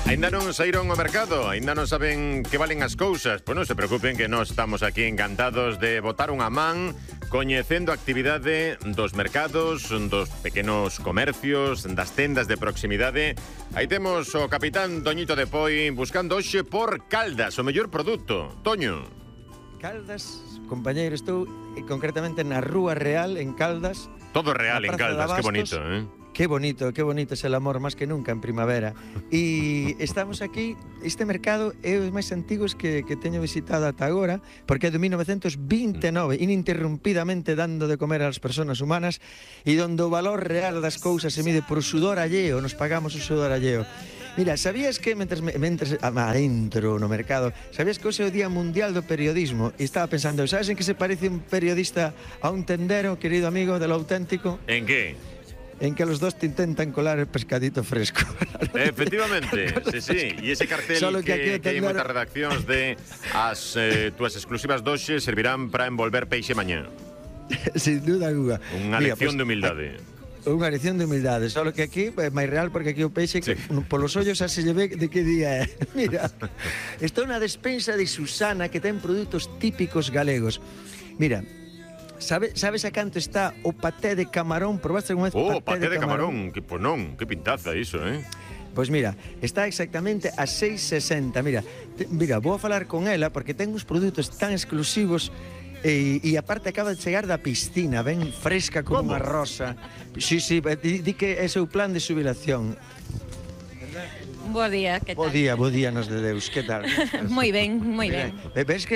Ainda non saíron ao mercado, ainda non saben que valen as cousas. Pois non se preocupen que nós estamos aquí encantados de botar unha man coñecendo a actividade dos mercados, dos pequenos comercios, das tendas de proximidade. Aí temos o capitán Toñito de Poi buscando hoxe por Caldas, o mellor produto. Toño. Caldas, compañeiro, estou concretamente na Rúa Real, en Caldas. Todo real en Caldas, que bonito, eh? Qué bonito es el amor, más que nunca en primavera. E estamos aquí, este mercado é os máis antigos que teño visitado ata agora, porque é de 1929, ininterrumpidamente dando de comer ás persoas humanas, e donde o valor real das cousas se mide por sudor alleo, nos pagamos o sudor alleo. Mira, sabías que, mentres adentro no mercado, sabías que hoxe é o Día Mundial do Periodismo? E estaba pensando, sabes en que se parece un periodista a un tendero, querido amigo, de lo auténtico? En que? En que los dos te intentan colar el pescadito fresco. Efectivamente, sí. E ese cartel que hai moitas redaccións de as túas exclusivas doxe servirán para envolver peixe mañá. Sin duda alguna. Unha lección de humildade. Unha lección de humildade, só que aquí é máis real porque aquí o peixe polos ollos xa se lle ve de que día é. Mira, está unha despensa de Susana que ten produtos típicos galegos. Mira, sabes a canto está o paté de camarón? Probaste algunha vez paté de camarón? Pois non, que pintaza iso, eh? Pois mira, está exactamente a 6,60. Mira, vou a falar con ela porque ten uns produtos tan exclusivos e aparte acaba de chegar da piscina, ben fresca como unha rosa. Sí, di que é seu plan de xubilación. Bo día, que tal? Bo día nos de Deus, que tal? Moi ben, moi ben. Ves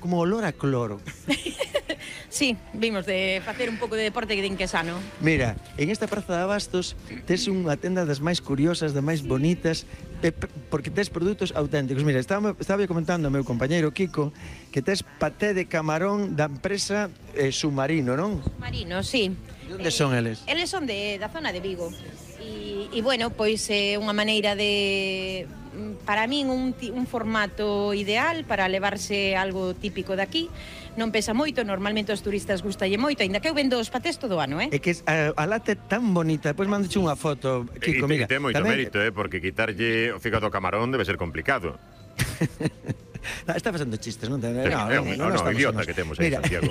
como olor a cloro. Sí, vimos de facer un pouco de deporte que din que sano. Mira, en esta praza de Abastos tes unha tenda das máis curiosas, das máis bonitas, porque tes produtos auténticos. Mira, estaba comentando ao meu compañeiro Kiko que tes paté de camarón da empresa Submarino, non? Submarino, sí. De onde son eles? Eles son da zona de Vigo. E bueno, pois é unha maneira de, para min, un formato ideal para levarse algo típico daqui. Non pesa moito, normalmente os turistas gustalle moito, aínda que eu vendo os patés todo o ano, eh? É que a lata é tan bonita, depois mandache unha foto, Kiko, mira. E ten moito mérito, porque quitarlle o fígado camarón debe ser complicado. Está facendo chistes, non? No, idiota que temos aí, Santiago.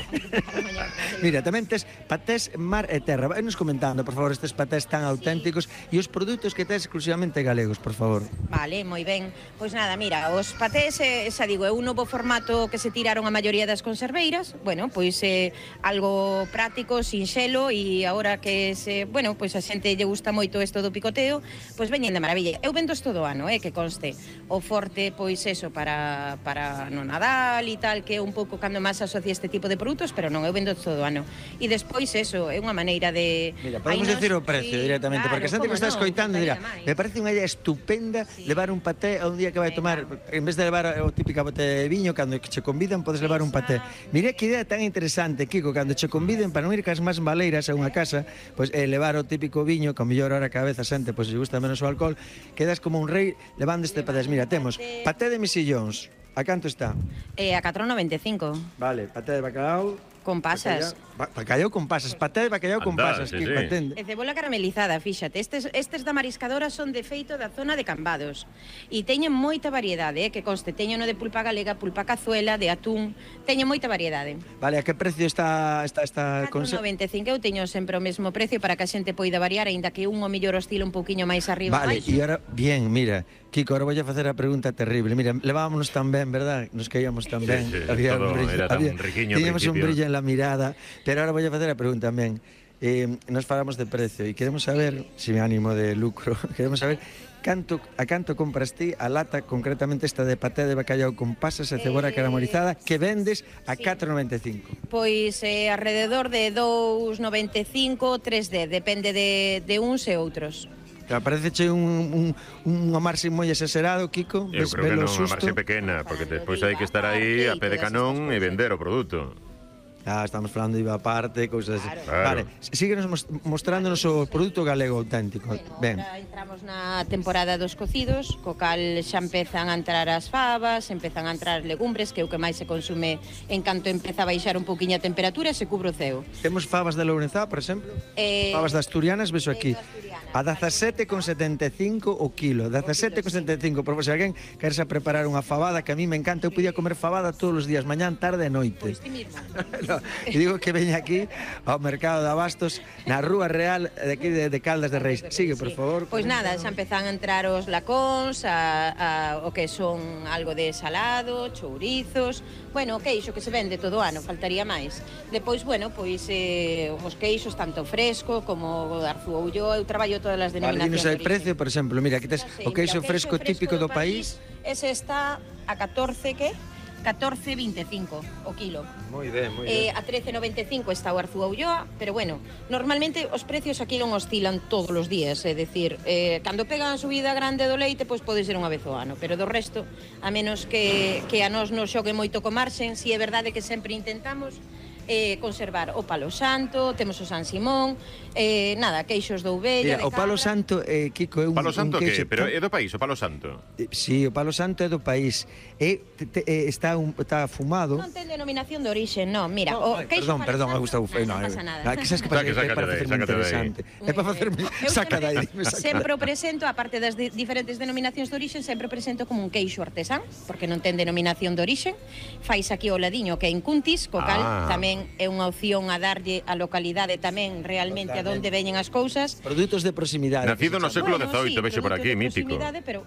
Mira, tamén tes patés mar e terra. Vai-nos comentando, por favor, estes patés tan auténticos e os produtos que tes exclusivamente galegos, por favor. Vale, moi ben. Pois nada, mira, os patés, xa digo, é un novo formato que se tiraron a maioría das conserveiras. Bueno, pois é algo práctico, sinxelo, e agora que pois a xente lle gusta moito isto do picoteo, pois veñen de maravilla. Eu vendo todo o ano, que conste. O forte, pois eso, para no Nadal e tal, que é un pouco cando máis asocia este tipo de produtos, pero non, eu vendo todo o ano. E despois eso, é unha maneira de... Mira, podemos decir o precio directamente, porque a xente que está escoitando dirá, me parece unha idea estupenda levar un paté a un día que vai tomar, en vez de levar o típica botella de viño, cando che convidan podes levar un paté. Mira que idea tan interesante, Kiko, cando che conviden para non ir cas máis maleiras a unha casa, pois levar o típico viño, que ao mellor ahora cada vez a xente pois lle gusta menos o alcohol, quedas como un rei levando este paté. Mira, temos paté de mexillóns. A canto está? A 4,95. Vale, paté de bacalao con pasas. Bacallau con pasas, paté de bacallau con pasas, sí, que patente. E cebola caramelizada, fíxate. Estes da mariscadora son de feito da zona de Cambados. E teñen moita variedade, que conste, teñen no de pulpa galega, pulpa cazuela, de atún, teñen moita variedade. Vale, a que precio está 4,95, eu teño sempre o mesmo precio para que a xente poida variar, aínda que un o mellor oscila un pouquiño máis arriba. Vale, e ahora, bien, mira, Kiko, ahora vou a facer a pregunta terrible. Mira, levámonos tan ben, verdad? Nos caíamos tan ben. Sí, todo era tan riquiño. Teníamos un brillo en la mirada. Pero ahora voy a facer a pregunta tamén. Nos falamos de precio e queremos saber, sin ánimo de lucro, queremos saber a canto compras ti a lata, concretamente esta de paté de bacallau con pasas e cebola caramelizada, que vendes a 4,95. Pois alrededor de 2,95, 3,10, depende de uns e outros. Parece un marxe moi exagerado, Kiko. Eu creo que non, unha marxe pequena, porque despois hai que estar aí a pé de canón e vender o produto. Estamos falando de IVA aparte, cousas así. Claro. Vale, síguenos mostrándonos o produto galego auténtico. Ben. Agora entramos na temporada dos cocidos, co cal xa empezan a entrar as fabas, empezan a entrar legumbres, que é o que máis se consume en canto empeza a baixar un pouquiño a temperatura e se cubre o ceo. Temos fabas de Lourenzá, por exemplo? Fabas de asturianas, vexo aquí. A 17,75 o kilo. 17,75. Por se alguén querese preparar unha fabada, que a mí me encanta, eu podía comer fabada todos os días, mañán, tarde e noite. Pois ti mismo. No, e digo que veña aquí ao mercado de abastos na Rúa Real de aquí de Caldas de Reis. Sigue, por favor. Pois nada, xa empezan a entrar os lacóns, o que son algo de salado, chourizos, bueno, o queixo que se vende todo o ano, faltaría máis. Depois, bueno, pois os queixos tanto fresco como o de Arzúa Ulloa, eu traballo todas as denominacións Dinos de el precio, por exemplo, mira, aquí tes o queixo fresco típico do país. Ese está a 14, que? 14,25 o kilo. Moi ben, moi ben. A 13,95 está o Arzúa Ulloa, pero bueno, normalmente os precios aquí non oscilan todos os días, é dicir, cando pegan a subida grande do leite, pois pode ser unha vez ao ano, pero do resto, a menos que a nós nos xogue moito co marxen, si é verdade que sempre intentamos conservar o palo santo, temos o San Simón, nada, queixos de ovella, Mira, o palo santo, Kiko, é un Palo santo queixo que? Pero é do país, o palo santo. Sí, o palo santo é do país. Está fumado. Non ten denominación de orixe, non. Mira, No, o queixo perdón, palo Gustavo. santo, non pasa nada. Que sabes que pasa? É para facerme interesante. É para facerme... Saca de aí. Sempre o presento, aparte das diferentes denominacións de orixe, sempre o presento como un queixo artesán, porque non ten denominación de orixe. Fais aquí o ladiño que é en Cuntis, co cal tamén é unha opción a darlle a localidade tamén realmente a onde veñen as cousas. Produtos de proximidade. Nacido no século XVIII, vexo por aquí, mítico. Pero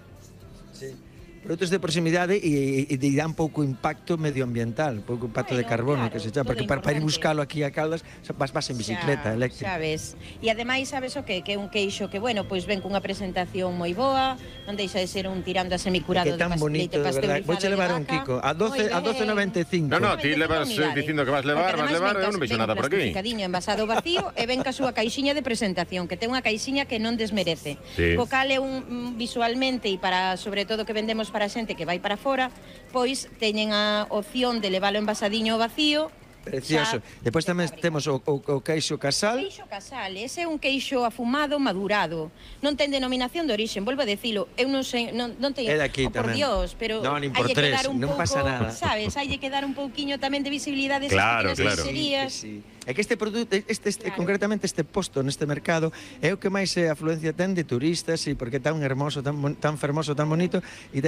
Produtos de proximidade e dan pouco impacto medioambiental, pouco impacto de carbono, claro, que se chama, porque para ir buscalo aquí a Caldas vas en bicicleta eléctrica. Sabes. E ademais sabes o que é un queixo que, bueno, pois ven cunha presentación moi boa, non deixa de ser un tirando a semicurado que tan de bonito, de verdade. Vou che levar un Kiko a 12,95. No, ti levas dicindo que vas levar, eu non vexo nada por aquí. Plastificadiño, envasado vacío e ven ca súa caixiña de presentación, que ten unha caixiña que non desmerece. Sí. Co cal é un visualmente e para sobre todo que vendemos para a xente que vai para fora, pois teñen a opción de levalo envasadiño ao vacío. Precioso. Depois tamén temos o queixo casal. Queixo casal, ese é un queixo afumado madurado. Non ten denominación de orixe, volvo a decilo. Eu non sei, non ten, É daqui por tamén. Dios, pero Non, nin por hai que tres, dar un non pouco, pasa nada. sabes, hai que dar un pouquiño tamén de visibilidade a Claro, esas claro. pequenas Sí. É que este produto, Claro. concretamente este posto neste mercado é o que máis afluencia ten de turistas e porque é tan hermoso, tan fermoso, tan bonito e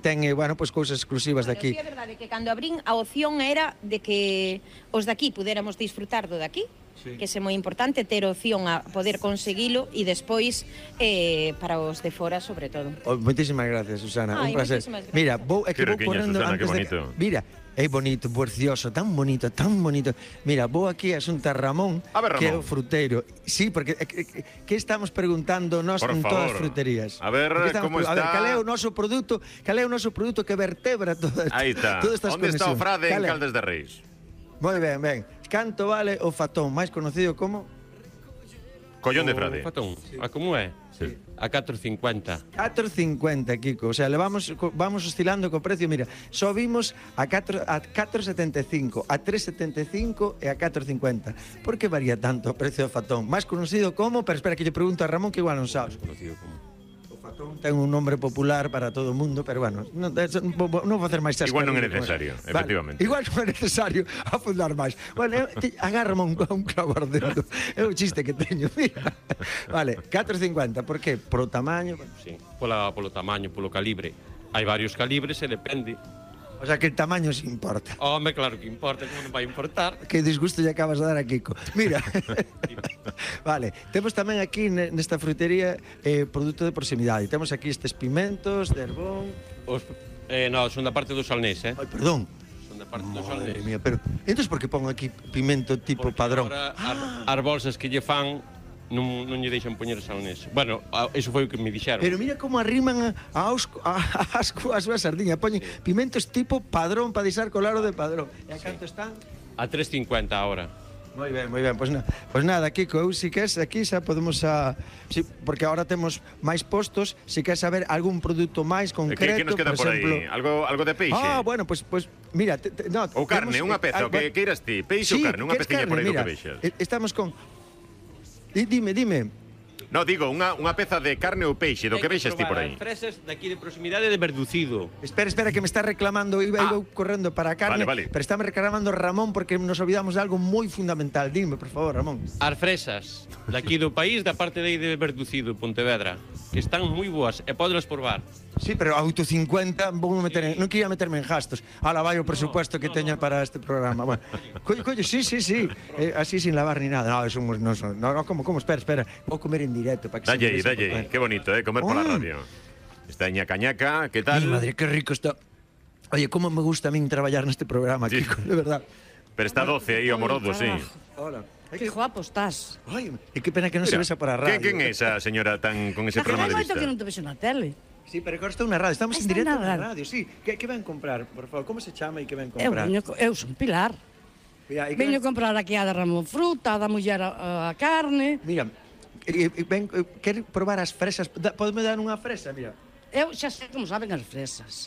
ten bueno, pues cousas exclusivas de aquí. Sí, é verdade que cando abrín a opción era de que os de aquí pudéramos disfrutar do de aquí, que é moi importante ter opción a poder conseguilo e despois para os de fora sobre todo. Moitísimas gracias, Susana, un Ai, placer. moitísimas gracias. Mira, vou correndo Susana, que antes bonito. Mira, é bonito, precioso, tan bonito, tan bonito. Mira, vou aquí a xunta Ramón, A ver, que é Ramón. o fruteiro. Sí, porque que estamos preguntando nós Por en todas as favor. fruterías. A ver, Porque como A ver, está? cal é o noso produto que vertebra todas Aí está. todas estas Onde está o conexións? frade en Cal é? Caldas de Reis? Moi ben, ben. Canto vale o fatón, máis conocido como Collón de frade. Fatón, a como é? Sí. A 4,50. 4,50, Kiko. O sea, vamos oscilando co precio. Mira, só vimos a 4,75, a 3,75 e a 4,50. Por que varía tanto o precio do fatón? Máis conocido como, pero espera que lle pregunto a Ramón que igual non sabes. Conocido como. O fatón ten un nombre popular para todo o mundo, pero bueno, non vou facer máis chascarrillo. Igual non é con necesario, eso. efectivamente. Igual non é necesario afundar máis. Bueno, agárrame un clavo ardiendo. É o chiste que teño, mira. Vale, 4,50, por que? Pro tamaño. Sí, polo tamaño, polo calibre. Hai varios calibres e depende. O sea, que el tamaño se importa. Home, claro que importa, como non vai importar. Que disgusto lle acabas de dar a Kiko. Mira. Vale, temos tamén aquí nesta frutería produto de proximidade. Temos aquí estes pimentos de Herbón. No, son da parte do Salnés, Ai, perdón. Son da parte do Madre Salnés. mía, pero entonces por que pon aquí pimento tipo Porque padrón? agora as bolsas que lle fan non lle deixan poñer Salnés. Bueno, eso foi o que me dixeron. Pero mira como arriman as súas sardiñas. Poñen pimentos tipo padrón para deixar colaro de padrón. E a canto están? A 3,50 ahora. Moi ben, moi ben. Pois nada, Kiko, eu si queres aquí xa podemos porque agora temos máis postos, si queres saber algún produto máis concreto, Que nos queda por exemplo, aí? Algo de peixe? bueno, pues mira, no, Ou carne, temos, unha peza, o que queiras ti? Peixe ou carne? Unha ¿quieres peciña por aí do Mira, que vexas. estamos con... Dime. No, digo, unha peza de carne ou peixe, do que vexas ti por aí. As fresas daqui de proximidade de Verducido. Espera, que me está reclamando, iba correndo para a carne, Vale. pero está me reclamando Ramón porque nos olvidamos de algo moi fundamental. Dime, por favor, Ramón. As fresas daqui do país, da parte de aí de Verducido, Pontevedra, que están moi boas e podelas probar. Sí, pero auto 50 vou meter non quería meterme en gastos. Ala, vai o presupuesto que teña para este programa. Bueno, colle, sí. Así sin lavar ni nada. No, eso no, como, espera. Vou comer en directo para que Dalle, qué bonito, comer por la radio. Está ñaca, ¿qué tal? Mi madre, qué rico está. Oye, cómo me gusta a mí trabajar en este programa, Sí. Kiko, de verdad. Pero está 12 aí, amoroso, sí. Hola. Que guapo estás. Ay, e que pena que non se besa para a radio. ¿Quién es esa señora tan con ese Que programa de fai moito vista? que non te vexo na tele. Sí, pero agora está na radio, estamos en Está directo na na radio, sí. Que ven comprar, por favor? Como se chama e que ven Eu, comprar? eu son Pilar. Mira, Veño comprar aquí a da Ramón fruta, a da muller a carne. Mira, quer probar as fresas? Podeme dar unha fresa, mira. Eu xa sei como saben as fresas.